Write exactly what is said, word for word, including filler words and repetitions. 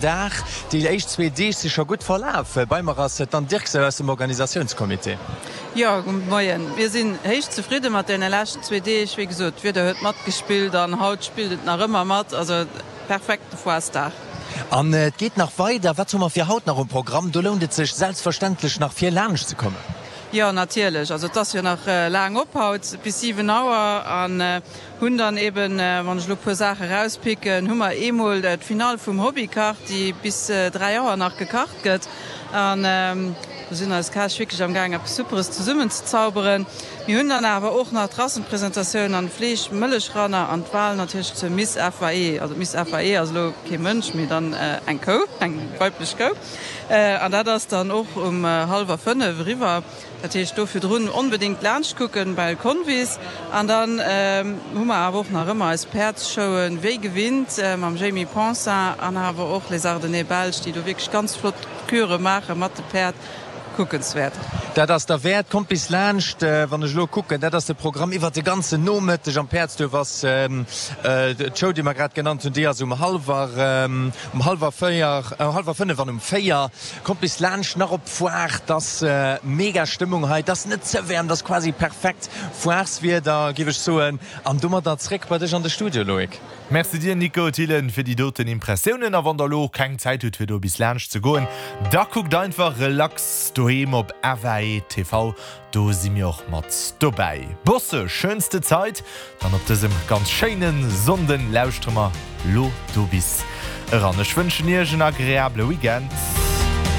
Dag. Déi éischt zwee Deeg si scho gutt verlaf. Bei mer ass d'Anne Dirksen aus dem Organisatiounscomité. Jo, gudde Moien. Mir sinn héich zefridde mat deene leschten zwee Deeg. Wéi gesot, d'Wieder huet matgespillt an haut spillt et nach ëmmer mat. Also perfekte Foiresdag. An et geet nach weider. Wat hu mer fir haut nach um Programm? Do lount et sech selbstverständlech nach fir laanscht ze kommen. Jo, natierlech. Also et ass jo nach laang op haut, bis siwen Auer. An hunn dann eben, wann ech elo e puer Saache erauspicken, hu mer eemol d'Finall vum Hobbykach, déi bis dräi Auer nach gekacht gëtt. An do sinn eis Käch wierklech am gaang eppes Superes zesummen ze zauberen. Mir hunn dann awer och nach d'Rassenpresentatioun an d'Fleesch Mëllechrunner an d'Wahl natierlech zur Miss F A E. Also d'Miss F A E ass elo kee Mënsch, mee dann eng Kou, eng weiblech Kou. An dat ass dann och um hallwer fënnef eriwwer. Dat heescht do virdrun onbedéngt laanscht kucken bei Convis. An dann hu mer awer och nach ëmmer eis Päerdsshowen, wéi gewinnt mam Jamie Poncin an awer och Les Ardennais Belges, déi do wierklech ganz flott Küre maache mat de Päerd. Kuckenswäert. Dat ass derwäert. Kommt bis laanscht. Wann ech elo kucken, dat ass de Programm iwwert de ganzen Nomëtteg am Päerdsduerf ass d'Show, déi mer grad genannt hunn, déi ass um hallwer um hallwer véier, hallwer fënnef an um véier. Kommt bis laanscht nach op d'Foire. 't ass mega Stëmmung hei. 't ass net ze waarm, 't ass quasi perfekt Foireswieder, géif ech soen. An domadder zréck bei dech an de Studio, Loïc. Merci dir Nico Thillen fir déi doten Impressiounen a wann der lo keng Zäit hutt fir do bis laanscht ze goen, da kuckt einfach relax doheem op F A E T V, do si mir och mat dobäi. Bosse, schönste Zeit, dann op dësem ganz schéine Sonnden lauschtere mer lo do bis eran. Ech wënschen iech en agreabele Weekend.